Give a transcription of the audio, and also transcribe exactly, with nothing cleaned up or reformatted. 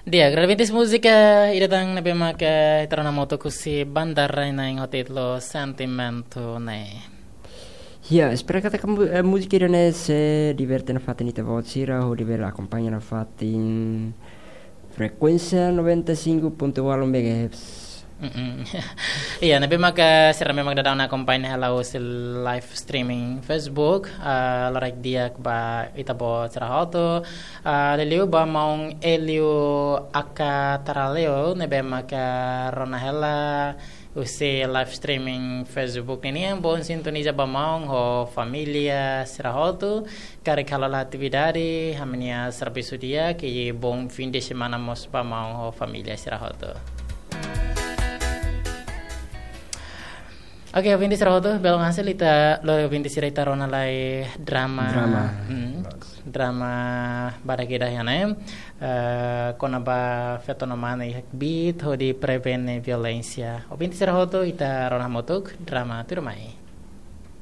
Di'ak, agradese múzika ida tan ne'ebé mak ita rona hamutuk husi Banda Rai Nain ho títulu Sentimentu ne'e. Ya, espera katak mu-, eh, múzika ida-ne'e sei diverte nafatin ita-boot sira, hodi bele akompaña nafatin frekuénsia noventa e cinco ponto ualu megahertz. Mm-mm. Iya, ne'ebé mak sira ne'ebé mak daudaun akompaña hela husi live streaming Facebook, ah, loraik di'ak ba ita-boot sira hotu, ah, liuliu ba maun Elio Aka Taraleo, ne'ebé mak rona hela husi live streaming Facebook ninian, bom sintoniza ba maun ho família sira hotu, karik halo atividade, ami-nia servisu di'ak, i bom fim de semana mós ba maun ho família sira hotu. Oke, ouvinte sira hotu, belun hasil ita, lori ouvinte sira ita rona lai drama. Drama. Hmm, drama badak ida iha ne'e, eh, kona-ba feto no mane iha kbiit hodi prevene violénsia. Ouvinte sira hotu, ita rona hamutuk drama tuirmai.